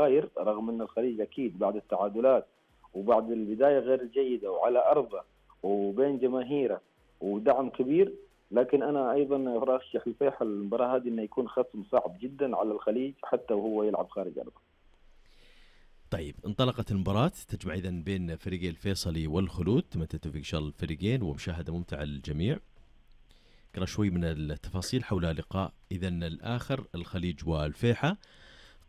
غاير، رغم أن الخليج أكيد بعد التعادلات وبعد البداية غير جيدة وعلى أرضه وبين جماهيره ودعم كبير، لكن أنا أيضا أرشح الفيحاء المباراة هذه أنه يكون خصم صعب جدا على الخليج حتى وهو يلعب خارج أرضه. طيب، انطلقت المباراة تجمع إذن بين فريقي الفيصلي والخلود، تمت التوفيق إن شاء الله الفريقين ومشاهدة ممتعة للجميع. نقرأ شوي من التفاصيل حول لقاء إذن الآخر الخليج والفيحاء.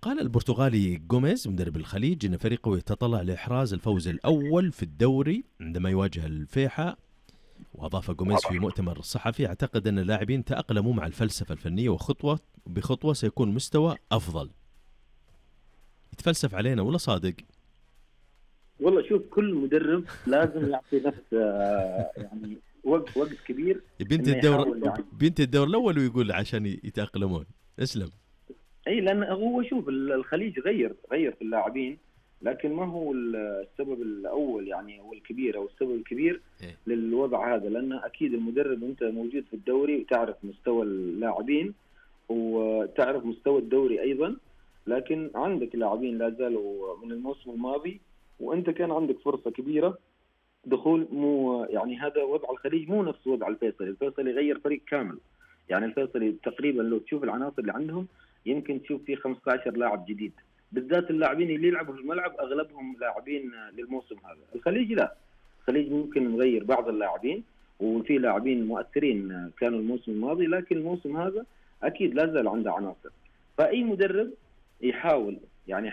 قال البرتغالي غوميز مدرب الخليج إن فريقه يتطلع لإحراز الفوز الأول في الدوري عندما يواجه الفيحاء. وأضاف غوميز في مؤتمر صحفي: أعتقد أن اللاعبين تأقلموا مع الفلسفة الفنية وخطوة بخطوة سيكون مستوى أفضل. يتفلسف علينا ولا صادق؟ والله شوف، كل مدرب لازم يعطي نفسه يعني وقت كبير. بنت الدور الأول ويقول عشان يتأقلمون. اسلم. اي، لان هو شوف الخليج غير في اللاعبين، لكن ما هو السبب الاول يعني هو الكبير او السبب الكبير للوضع هذا، لان اكيد المدرب انت موجود في الدوري وتعرف مستوى اللاعبين وتعرف مستوى الدوري ايضا، لكن عندك لاعبين لا زالوا من الموسم الماضي وانت كان عندك فرصة كبيرة دخول. مو يعني هذا وضع الخليج مو نفس وضع الفيصلي غير فريق كامل. يعني الفيصلي تقريبا لو تشوف العناصر اللي عندهم يمكن تشوف فيه 15 لاعب جديد، بالذات اللاعبين اللي يلعبوا في الملعب اغلبهم لاعبين للموسم هذا. الخليج لا، الخليج ممكن نغير بعض اللاعبين وفي لاعبين مؤثرين كانوا الموسم الماضي، لكن الموسم هذا اكيد لا زال عنده عناصر. فاي مدرب يحاول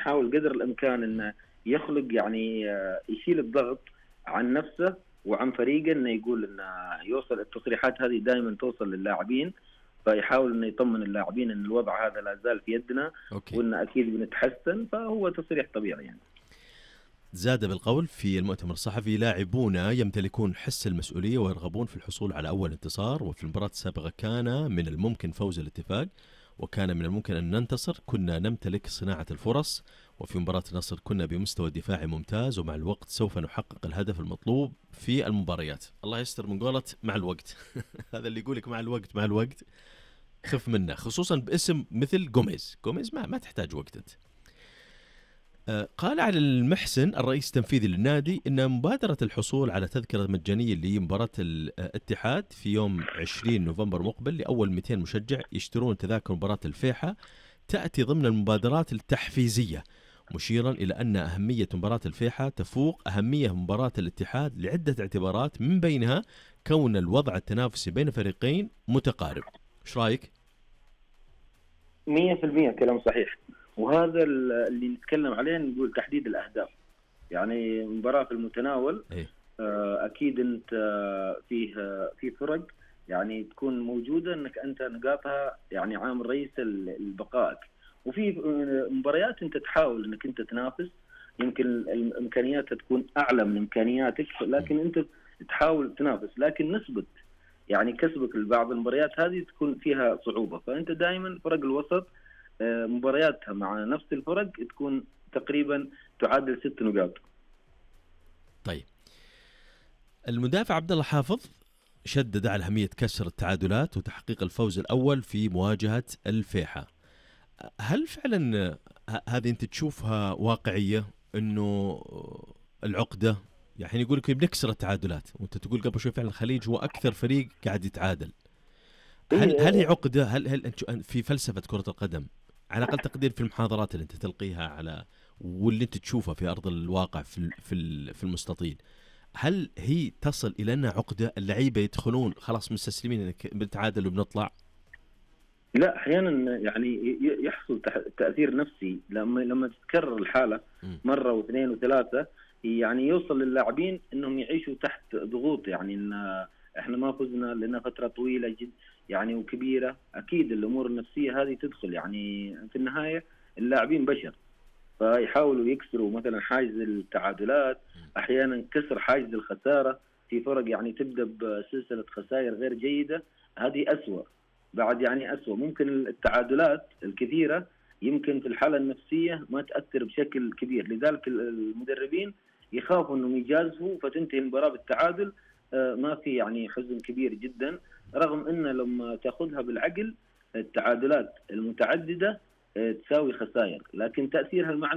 قدر الامكان انه يخلق يعني يشيل الضغط عن نفسه وعن فريقه، انه يقول انه يوصل التصريحات هذه دائما توصل للاعبين، فيحاول انه يطمن اللاعبين ان الوضع هذا لا زال في يدنا وان اكيد بنتحسن. فهو تصريح طبيعي يعني. زاد بالقول في المؤتمر الصحفي: لاعبون يمتلكون حس المسؤولية ويرغبون في الحصول على أول انتصار، وفي المباراة السابقة كان من الممكن فوز الاتفاق وكان من الممكن أن ننتصر، كنا نمتلك صناعة الفرص، وفي مباراة النصر كنا بمستوى دفاعي ممتاز، ومع الوقت سوف نحقق الهدف المطلوب في المباريات. الله يستر من قولة مع الوقت. هذا اللي يقولك مع الوقت خف منه، خصوصا باسم مثل غوميز ما تحتاج وقت انت. قال على المحسن الرئيس التنفيذي للنادي إن مبادرة الحصول على تذكرة مجانية لمباراة الاتحاد في يوم 20 نوفمبر مقبل لأول 200 مشجع يشترون تذاكر مباراة الفيحاء تأتي ضمن المبادرات التحفيزية، مشيرا إلى أن أهمية مباراة الفيحاء تفوق أهمية مباراة الاتحاد لعدة اعتبارات، من بينها كون الوضع التنافسي بين فريقين متقارب. إيش رأيك؟ 100% كلام صحيح، وهذا اللي نتكلم عليه، نقول تحديد الأهداف. يعني مباراة في المتناول أكيد أنت في فرق يعني تكون موجودة أنك أنت نقاطها يعني عامل رئيس البقائك، وفي مباريات أنت تحاول أنك أنت تنافس، يمكن إمكانياتها تكون أعلى من إمكانياتك، لكن أنت تحاول تنافس، لكن نسبة يعني كسبك لبعض المباريات هذه تكون فيها صعوبة. فأنت دائما فرق الوسط مبارياتها مع نفس الفرق تكون تقريبا تعادل 6 نقاط. طيب، المدافع عبد الله حافظ شدد على أهمية كسر التعادلات وتحقيق الفوز الأول في مواجهة الفيحاء. هل فعلا هذه أنت تشوفها واقعية، أنه العقدة يعني يقول لك بنكسر التعادلات، وأنت تقول قبل شوي فعلا الخليج هو أكثر فريق قاعد يتعادل؟ هل هي عقدة؟ هل في فلسفة كرة القدم على أقل تقدير في المحاضرات اللي أنت تلقيها على واللي أنت تشوفها في أرض الواقع في المستطيل، هل هي تصل إلى أنها عقدة اللعيبة يدخلون خلاص مستسلمين إنك بنتعادل وبنطلع؟ لا، أحيانا يعني يحصل تأثير نفسي لما تتكرر الحالة مرة واثنين وثلاثة، يعني يوصل للاعبين إنهم يعيشوا تحت ضغوط، يعني إن إحنا ما فزنا لنا فترة طويلة جدا يعني وكبيرة. أكيد الأمور النفسية هذه تدخل، يعني في النهاية اللاعبين بشر، فيحاولوا يكسروا مثلا حاجز التعادلات، أحيانا كسر حاجز الخسارة في فرق يعني تبدأ بسلسلة خسائر غير جيدة، هذه أسوأ بعد، يعني أسوأ. ممكن التعادلات الكثيرة يمكن في الحالة النفسية ما تأثر بشكل كبير، لذلك المدربين يخافوا أنهم يجازفوا فتنتهي المباراة بالتعادل، ما في يعني حزن كبير جدا، رغم أن لما تأخذها بالعقل التعادلات المتعددة تساوي خسائر، لكن تأثيرها المعنوي